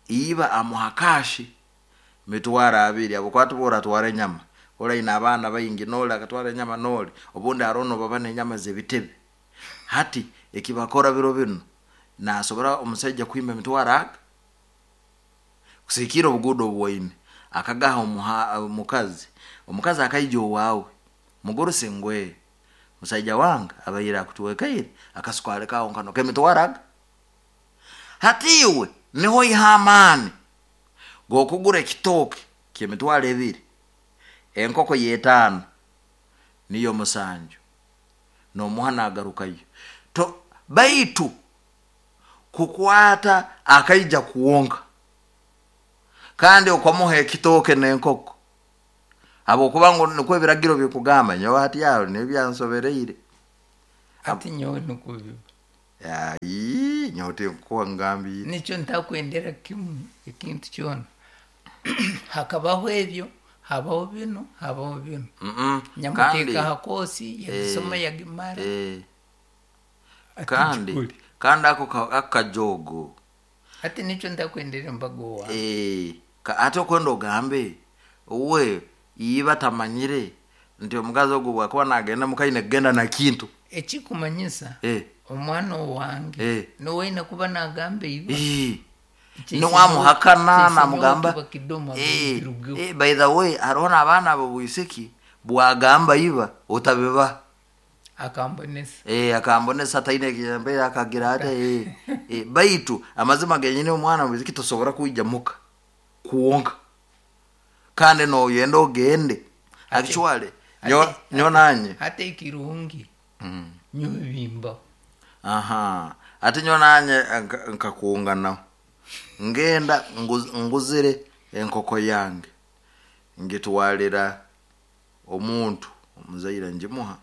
iba amuha cash mitwaro 20, habwokuba ati bworatwara enyama, oli aine abaana baingi, n'oli akatwara enyama n'oli, obundi haroho nobaba n'enyama z'ebitebe. Hati ekibakora biro binu, nasobora omusaija kwima emitwaro aga, kusigikiira obuguuda obu aine, akagaha omukazi, omukazi akaija owaawe, mugurusi ngu musaija wange abaire akutwekaire akasukaali kaawe nkano k'emitwaro aga. Hati iwe niho oiha amaani g'okugura ekitooke ky'emitwaro 2, enkoko y'etaano niyo 7, n'omuha nagarukayo. Baitu kukwata akaija kwonka. Kandi okamuha ekitooke n'enkoko habwokuba ngu nikwo ebiragiro bikugamba. Nyowe hati aho nibyansobereire. Ati nyowe nikwo biba. Ai, nyowe tinkukuwa ngambiire. Nikyo ntakwendera kimu ekintu kyona. Hakabaho ebyo, habaho binu, habaho binu. Kandi Nyamuteeka ha koosi yagisoma yagimara. Ati kandi ngikore. Kandi ako kajogo. Ati nikyo ntakwendera embaga owange. Ate okwenda ogambe we iba tamanyire nti omukazi ogwo bwakuba nagenda mukaine kugenda na kintu. Ekikumanyisa omwana owange niwe aine kuba nagamba iba. Niwamuhakana namugamba by the way, hariho n'abaana abo bwisiki bwagamba iba otabiba. Akambonesa. Akambonesa taine kiyambe akagira ate baitu amazima genyine omwana bwisiki tosobora kwija muka kuwonka. Kandi noyenda ogende. Actually nyo nanye. Hata ekirungi. Nyo bimba. Aha. Ate nyo nanye nkakuungana. Ngenda nguzire enkoko yange. Ngitwalira omuntu omuzaire njimuha.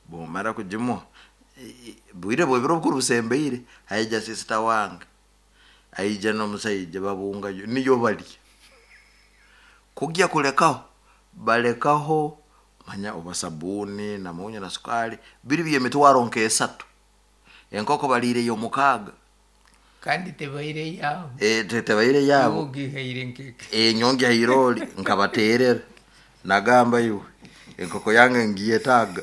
Bwomara kujimuha bwire bwebiro bukuru busembeire haija sister wange. Aija n'omusaija babunga niyo bali. Kujya kulekaho balekaho manya oba sabuni na munyu na sukari biri byemitwaro nk'esatu. Enkoko balire yo mukaaga. Kandi tebaire yabo. Tebaire yabo. Ogihaire nkeke. Nyonge hairoli nkabaterera. Nagamba iwe enkoko yange ngiyetaga.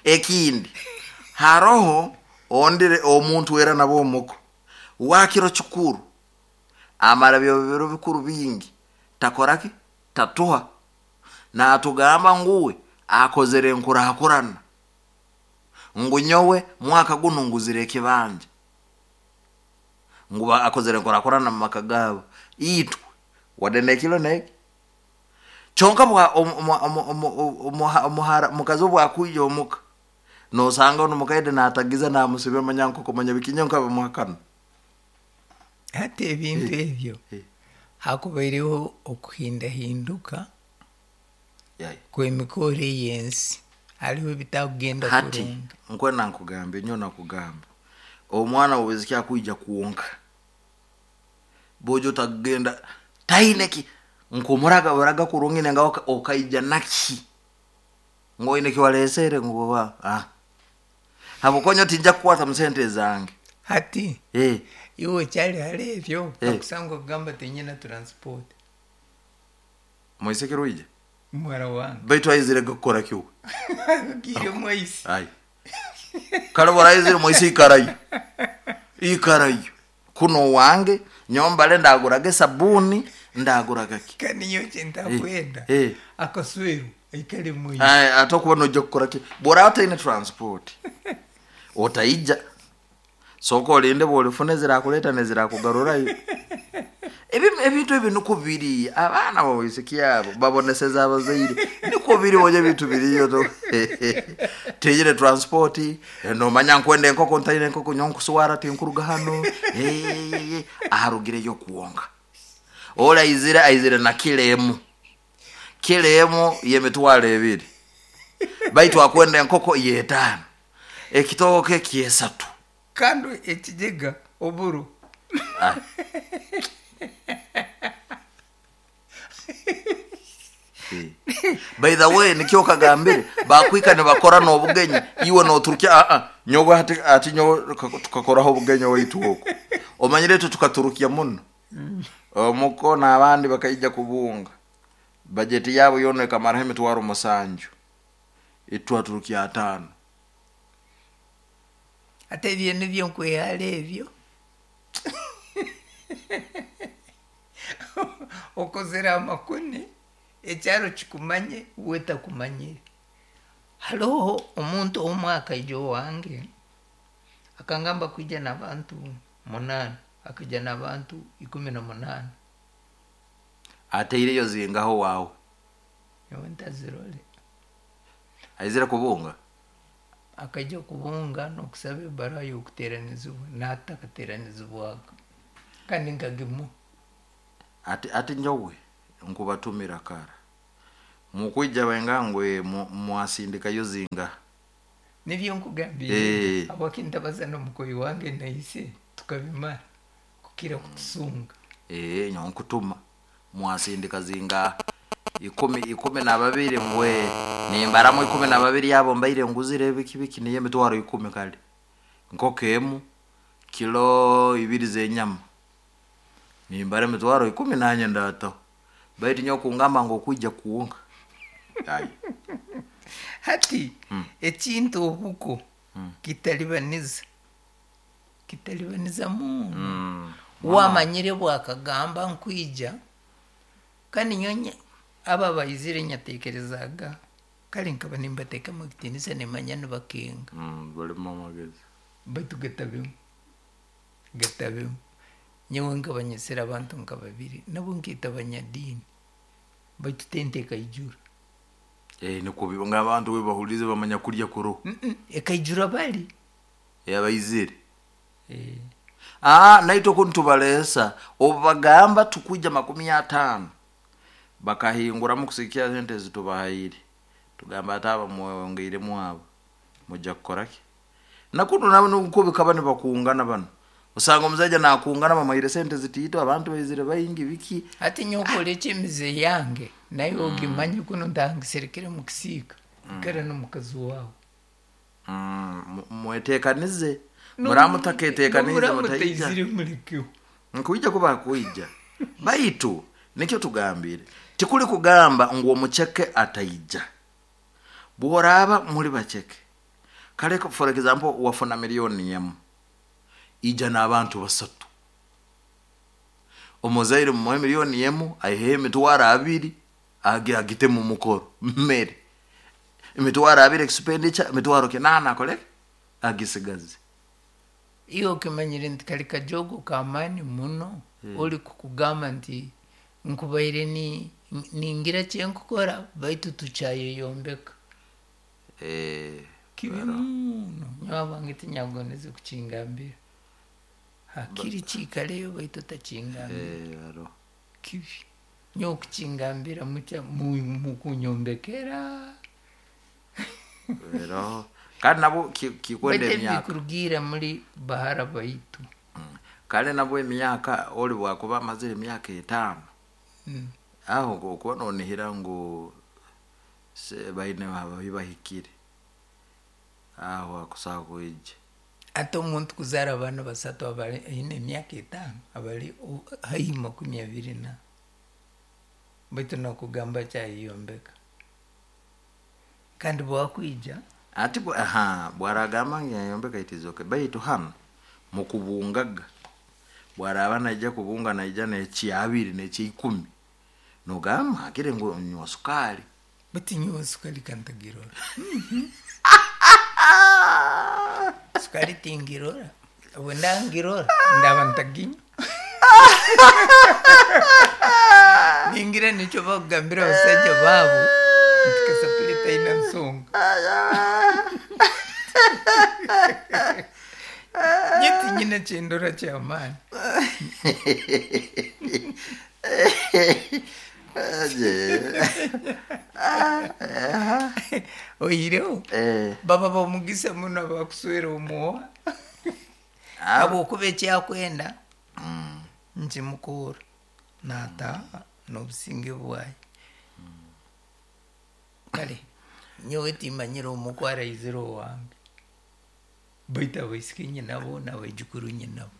Ekindi haroho ondire omuntu era nabo omuko wakiro kikuru amara byo biro bikuru bingi takoraki tatuha natugamba nguwe akozere nkurakurana ngu nyowe mwaka guno nguzire ekibanja ngu akozere nkurakurana mu maka gabo itwe wadene kilo neki chonka bwa mukazi bwakuija omuka nosanga ono mukaide natagiza namusibe manyanko kumanya bikinyo nka bamuhakana. Hati ebintu ebyo hakubaireho okuhindahinduka kwemikoro ey'ensi hariho ebitakugenda hati kurungi. Nkwena nkugamba nyo nakugamba omwana wobweziki akwija kwonka bojo tagenda taine ki nkumuraga buraga kurungi nenga okaija naki ngoine kiwalesere nguwa habukonyo tinja kukwata musente zange. Hati iwe kyali hali ebyo akusanga okugamba tinyina transport. Mwisekero ije muhara wange baitu aizire gukora kiwe gire mwaisi ai kale baraizire mwaisi ikarayo ikarayo kuno wange nyombale ndaguraga sabuni ndaguraga ki kandi nyo kintakwenda akasweru aikale mwaisi ai atakuba noja kukora ki bora ataine transport otaija soko olinde bwolifuna zirakuleta nezirakugarurayo. Ebintu ebi niko biri abaana bawisiki abo baboneseza abazaire niko biri boje bintu biriyo to tejire transport nomanya nkwenda enkoko ntaine enkoko nyonkuswara tinkuruga hano aharugireyo kuwonga ola aizire aizire na kilemu kilemu yemitwalo ebiri baitu akwenda enkoko yetaano ekitooke kyesatu kandi ekijega oburo. By the way nikyo kagambire bakwika nibakora n'obugenyi iwe noturukia nyowe hati ati nyowe tukakoraho obugenyi waitu oko omanyire tu tukaturukia muno omuko n'abandi bakaija kubunga bajeti yabo yona ekamaraho emitwaro 7 itwaturukia 5. Ate ebyo nibyo nkwehara ebyo okozere amakune ekyaro kikumanye we takumanyire. Hariho omuntu omwe akaija owange akangamba kwija n'abantu 8 akaija n'abantu 18. Ateireyo zingaho wawe nyowe ntazirore aizire kubunga Akaija kubunga n'okusaba ebaruha y'okuteeranizibwa nahati takateeranizibwaga kandi nkagimuha. Ati nyowe nkubatumira kara mukwija bengangwe mwasindikayo zinga. Nibyo nkugambire habwaki ntabaza n'omukoyi wange naise tukabimara kukira kutusunga. Nyowe nkutuma mwasindika zinga 12 mbwe nimbaramu 12 abo mbaire nguzire biki niyo emitwaro 10 kale nkoko emu kilo 2 z'enyama nimbara emitwaro 10 nanye ndataho baitu nyowe kungamba ngu okwija kuwonka. Hati ekintu obuko kitalibaniza muno. Wamanyire bwakagamba nkwija kandi nyonye aba baizire nyatekerezaga kale nkaba nimbateekamu ekitiinisa nimanya nibakenga. Balimu amagezi. Baitu gatabemu nyowe nkabanyesera abantu nka babiri nabo nkeeta abanyadiini baitu tente ekaijura. Nikwo ng'abantu we bahulize bamanya kurya kuroho. Ekaijura bali. Abaizire. Naitwe kunu tubaleesa obagamba tukwija 50 bakahinguramu kusikia sente zitubahaire tugamba ati aba mwongeiremu abo mujja kukoraki. Nakuno nabo nuko bikaba nibakungana bano osanga omusaija nakungana bamuhaire sente zitiito abantu baizire baingi biki. Hati nyowe okoleki emize yange naye ogimanye kuno ntangiserekere mukisiika ikara n'omukazi waawe. Mweteekanize muramutaketeekanize mutaija mulekeho nkuija kuba kuija baitu nikyo tugambire tikuli kugamba ngu omucheke ataija bworaba muri bacheke kale for example wafuna milioni yemu ija n'abantu 3 omuzaire mumuhe milioni yemu aihe emitwaro 2 agite mu mukoro mmere emitwaro 2 expenditure emitwaro 8 akole agisigaze. Iyo okimanyire nti kali kajogo kamani muno oli kukugamba nti nkubaire ni ningira kyenkukora baitu tukyayeyombeka. Kibi muno nyowe abange tinyagondeze kukingambira hakiri kiikaleyo baitu otakingambira. Kibi nyowe kukingambira mukunyombekera. Kandi nabo kikwenda emyaka bikurugira muri bahara baitu. Kale nabo emyaka oli bwakuba amazire emyaka 5 aho okuba nonihira ngu baine bahikire aho akusaha kuija. Ate omuntu kuzaara abaana 3 abali aine emyaka 5 abali haihi 24 baitu nakugamba kyayeyombeka kandi bwakwija ati bwaragamba ngu yayombeka itizoke baitu hano mukubungaga bwaraba naija kubunga naija neki 2 neki 10 nogamba akire ngu nywa sukali bati nywa sukali kantagirora. Sukali tingirora obundangirora ndaba ntaginywa. Ningira nikyo bakugambira abasajja baabo nti kasapuli taina nsonga. Nyeti nyina kyendora kyamaani. Oireho baba bamugisa muno abakuswera omuwa habwokuba ekyakwenda nkimukura nataaha n'obusinge bwaye. Kale nyowe timanyire omuku araizire owange baitu abaisiki nyinabo n'abaijukuru nyinabo.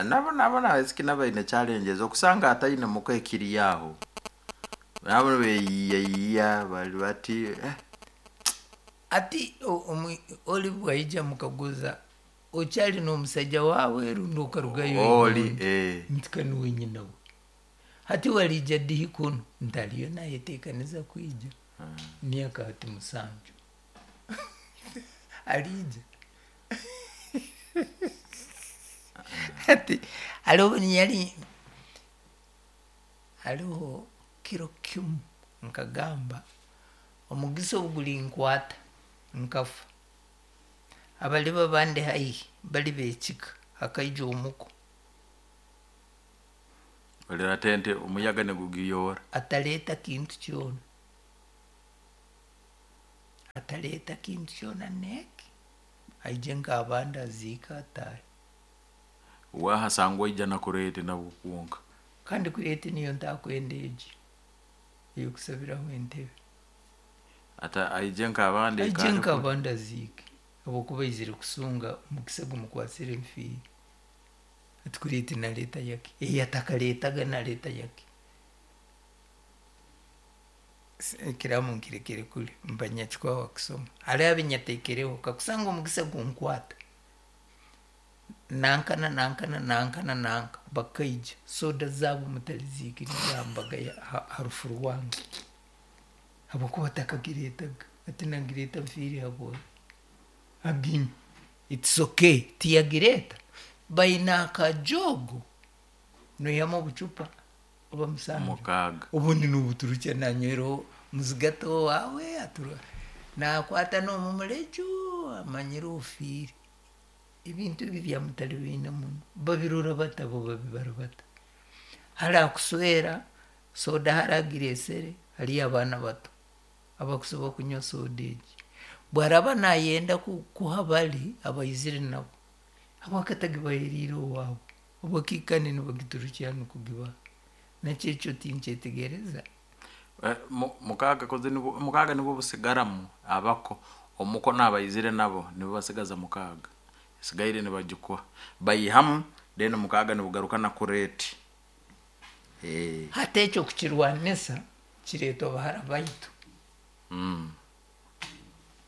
Nabo abaisiki nabo baine challenges okusanga ataine muka ekiri aho nabo beyiyayiya bali bati Ati oli bwaija mukaguza okyali n'omusajja waawe rundi okarugayo oli nti kanuwe nyinawe. Hati walija dihi kuno ntaliyo nayeteekaniza kwija myaka hati 7 alija. Hati hariho yali hariho kiro kimu nkagamba omugisa ogulinkwata Nkafa abaliba bandi haihi bali bekika hakaija omuko Olera tente omuyaga negugiyora. Ataleta kintu kyona, ataleta kintu kyona neki aije nk'abandi aziika atahe. Wahasangwa ija nakurete nabwo kwonka. Kandi kurete niyo ntakwenda egi eyokusabiraho entebe. Ata aije nk'abandi aije nk'abandi aziike habwokuba aizire kusunga omukisa gumukwasire nfiire. Ati kurete naleta yaki eyatakaletaga naleta yaki. Ekiramu nkirekere kuli mbanyakikwaho kusoma hali abinyatekereho kakusanga omukisa gunkwata nankana nankana nankana nanka bakaija soda zaabo mutaliziikiriza mbaga harufu rwange habwokuba takagiretaga ati nagireta nfiire habwoyo aginywe it's okay tiyagireta baina akajogo noihamu obucupa oba musanju mukaaga obundi nubuturukya nanyweraho muzigato wawe atura nakwata n'omumuleju amanyire ofiire. Ebintu ebi byamutali biine muno babirora bata bo babibara bata hali akuswera soda hali agiresere haliyo abaana bato abakusobola kunywa soda egi bwaraba nayenda kuha bali abaizire nabo habwakatagibaheriire owaabo obwakiikane nibagiturukya nukugibaha nakyo ekyo tinkyetegereza. Mukaaga koze mukaaga nibwo busigaramu abako omuko n'abaizire nabo nibo basigaza mukaaga esigaire nibagikuha bayihamu then mukaaga nibugaruka na kureti. Hati ekyo kukirwanisa kireetwa bahara baitu.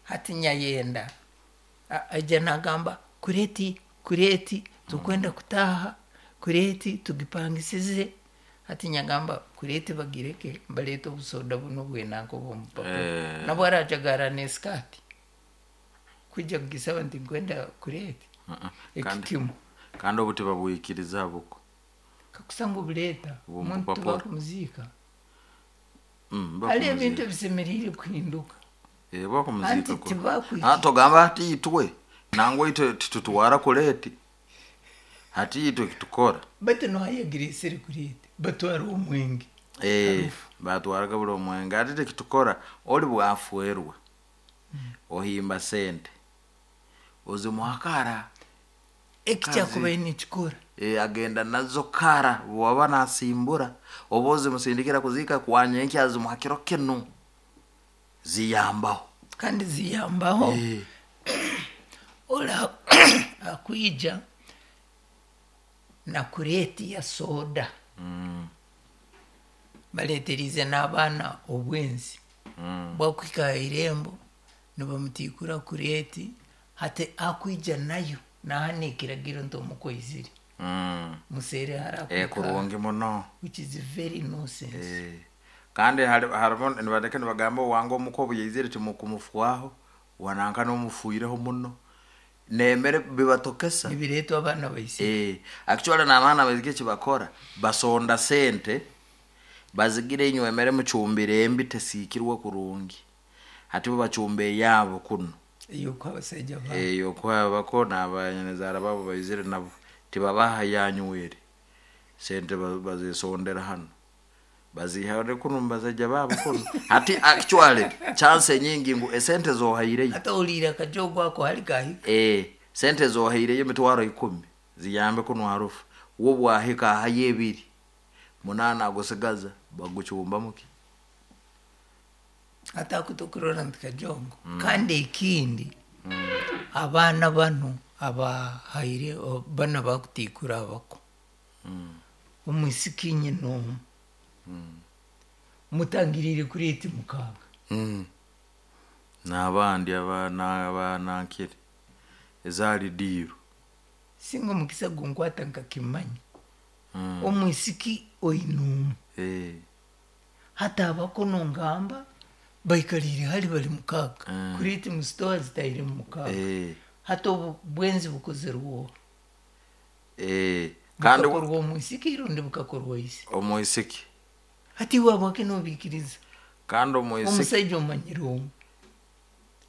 Hati nyayenda aija nagamba kureti kureti tukwenda kutaha kureti tugipangisize. Hati nyagamba kureti bagireke balete obusoda buno bwenanka obwomupapura nabwo arajagara nesikati kwija kugisaba nti nkwenda kureti ekikimu. Kandi obu tibabwikiriza buko kakusanga obuleeta omuntu tibakumuziika. Hali ebintu ebisemeriire kuhinduka. Bakumuzika togamba hati itwe nangwa itwe titutwara kureti hati itwe kitukora baitu nohayagiresere kureti batwara omwenge batwaraga buli omwenge ati tekitukora oli bwafwerwa ohimba sente ozimuha kara ekikyakubaire nikikora agenda nazo kara bwaba nasimbura oba ozimusindikira kuzika kwanyenkya azimuha kiro kinu ziyambaho kandi ziyambaho. Ola akwija na kureti ya soda baleterize n'abaana obwenzi bwakuhika irembo nibamutikura kureti hati akwija nayo nahana ekiragiro nti omukoizire musere hara kurungi muno which is very nonsense. Kandi hariho nibareka nibagamba wange omuko obuyaizire timukumufwaho wananka n'omufuireho muno nemere bibatokesa nibiretwa abaana baisike. Actually n'abaana baisike ekibakora basonda sente bazigire inywe emere mucumbire embi tesiikirwe kurungi hati bo bacumba eyabo kuno eyokuha abasaija babo eyokuha bako n'abanyanzaara babo baizire nabo tibabaha yanywere sente bazisondera hano bazihare kuno mubasaija babo kuno hati actually chance nyingi ngu esente zohaireyo hata oliira akajogo ako hali kahika sente zohaireyo emitwaro 10 ziyambe kuno harufu wo bwahika ahayo 2 8 agusigaza bagucumbamuki hata akutokurora nti kajongo. Kandi ekindi abaana bano abahaire bana bakutikura abako omwisiki nyina omu mutangirire kureti mukaaga n'abandi abanankire ezaali diiru singa omukisa gunkwata nkakimanya omwisiki oine omu hati abako nongamba baikalire hali bali mukaaga kureti musitowa zitaire mu mukaaga hati obu bwenzi bukozerwe kandi bukakorwa omwisiki rundi bukakorwa ise omwisiki hati iwe abwake nobikiriza kandi omwisiki omusaija omanyire omu.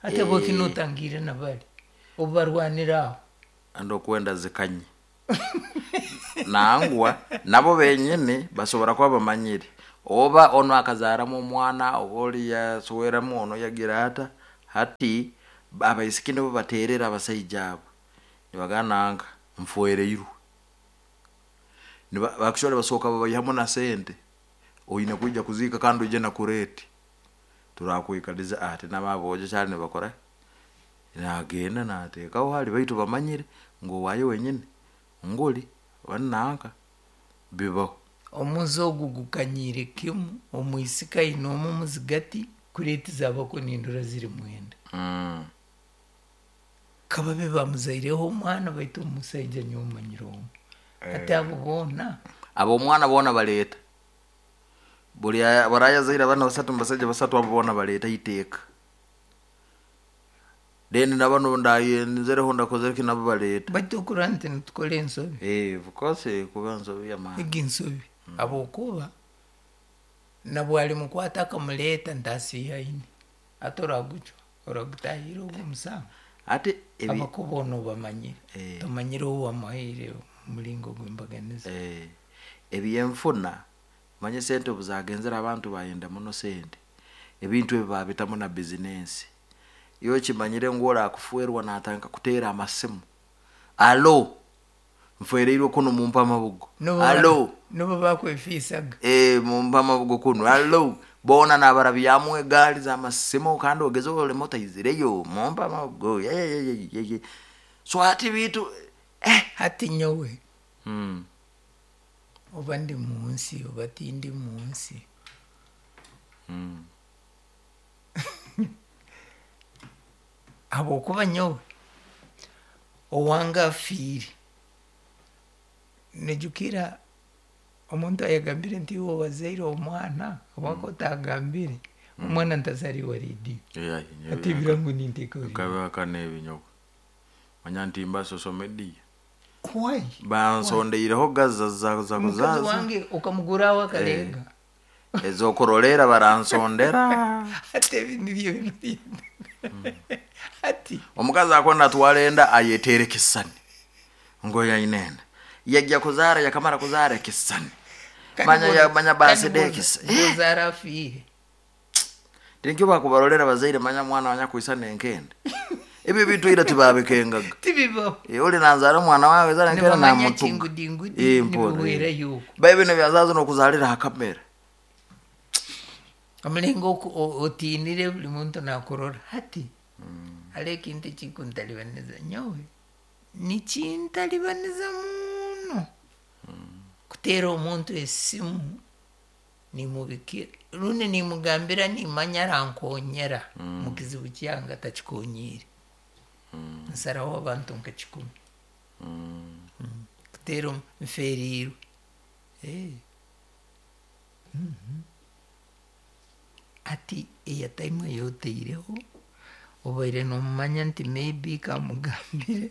Hati habwaki notangiire nabali obu barwanira aho? Andi okwenda zikanye nangwa nabo benyini basobora kuba bamanyire oba ono akazaramu omwana oba oli yasweramu ono yagira ata. Hati abaisiki nibo baterera abasaija abo nibagamba nanka nfwereirwe. Actually basooka babaihamu na sente, oine kwija kuziika kandi oije na kureeti turakwikaliza. Ati nabo aboojo kyali nibakora nagenda nateekaho hali, baitu bamanyire ngu owaayo wenyini nguli oba nanka bibaho. Omuze ogu gukanyiire kimu, omwisika aine omu muzigati kureeti zabako nindora ziri 9. Kababe bamuzaireho omwana, baitu omusaija nyowe manyire omu. Hati abo boona abo omwana boona baleeta buli barayazaire abaana basatu mubasaija basatu, abo boona baleeta iteeka. Then nabano ndayenzereho ndakozere ki nabo baleeta. Baitu okurora nti nitukora ensobi. Of course kuba ensobi y'amaani. Egi nsobi, habwokuba nabwo alimukwata akamuleeta ntasiihaine, hati oragucwa oragutahira ogu omusango. Ati abakuba ono obamanyire, tomanyire ou wamuhaire omulingo gw'embaganiza. Ebyenfuna manye sente obu zagenzere abantu bayenda muno sente, ebintu ebi babitamu na bizinensi. Iwe okimanyire ngu orakufwerwa natandika kuteera amasimu, alo nfwereirwe kunu mumpe amabugo, alo nibo bakwefiisaga. Mumpe amabugo kunu, alo boona nabarabyamu egaari z'amasimu kandi ogeze olema otaizireyo mumpe amabugo. So hati bitu Hati nyowe oba ndi munsi oba tindi munsi, habwokuba nyowe owange afiire, nijukira omuntu ayagambire nti iwe wazaire omwana habwaki otagambire omwana ntazariwa rediyo, hati ebirango ninteekaho rediyo. Kabihakana ebinyowe manya nti mba social media. Why? Bansondeireho gaza za Mukazi kuzaza wange okamuguraho akalega. Ezokurolera baransondera. Hati ebi nibyo bintu hati. Omukazi akwenda atwara enda ayeteera ekisisani ngo yaine enda, yajja kuzaara yakamara kuzaara ekisisani manya manya baside ekisa bozara afiire. Tinkyo bakubarolera bazaire manya mwana wanyakwisana enkende, ebyo bintu ira tibabikengaga. Tibibaho. Oli nanzaara omwana wawe zara enkende nibamanya namutuga kingudingudi mpora, nibiwera yuko. Bae bino byazazo nokuzalira ha kamera. Omulingo otiinire buli muntu nakurora. Hati hariho ekintu ekikuntalibaniza nyowe, nikintalibaniza muno kuteera omuntu esimu nimubikira rundi nimugambira nimanya arankonyera mukizibu kyange atakikonyiire, nsaraho abantu nka 10 kuteera nferiirwe. Ati eyataimu eyoteireho obaire nomumanya nti maybe kamugambire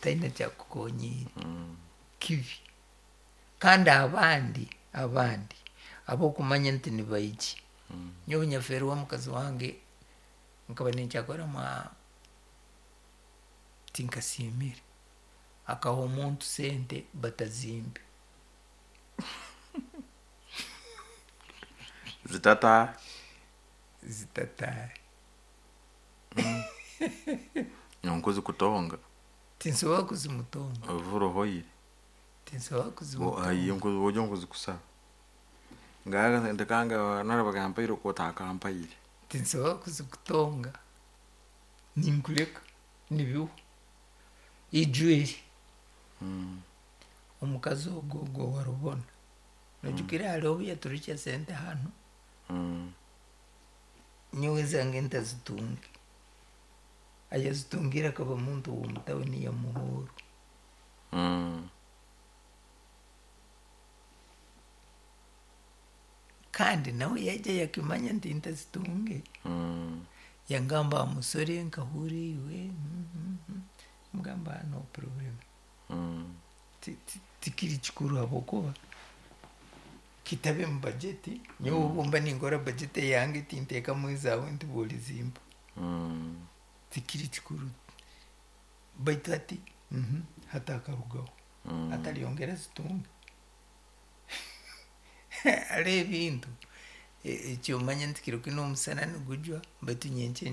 taina kyakukonyiire kibi. Kandi abandi abokumanya nti nibaiki, nyowe nyaferwa omukazi wange nkaba ninkyakora tinkasiimire, akaha omuntu sente batazimbe. Zitata zitataahe. Nkuzikutonga. Tinsobola kuzimutonga. Ovurohoire. Tinsobola kuzimutonga. Ojo nkuzikusaba ngaga sente kange nara bakampaire okotakampaire. Tinsobola kuzikutonga, ninkuleka nibiho ijweri. Omukazi ogwo ogwo warubona nojukira hariho obu yaturukya sente hano, nyowe zange ntazitunge, ayazitungire akaba muntu w'omutawuni ya Muhoro. Kandi nawe yaija yakimanya nti ntazitunge. Yangamba musore nkahure iwe, mugamba no problem. Tikiri kikuru habwokuba kitabe mu bajeti, nyowe obumba ninkora bajeti yange tinteekamu ezaawe nti bwolizimpa. Tikiri kikuru, baitu hati hati akarugaho, atalyongera zitunga. Haroho ebintu ekyomanya nti kiro kinu omusana nigujwa, baitu nyenkya.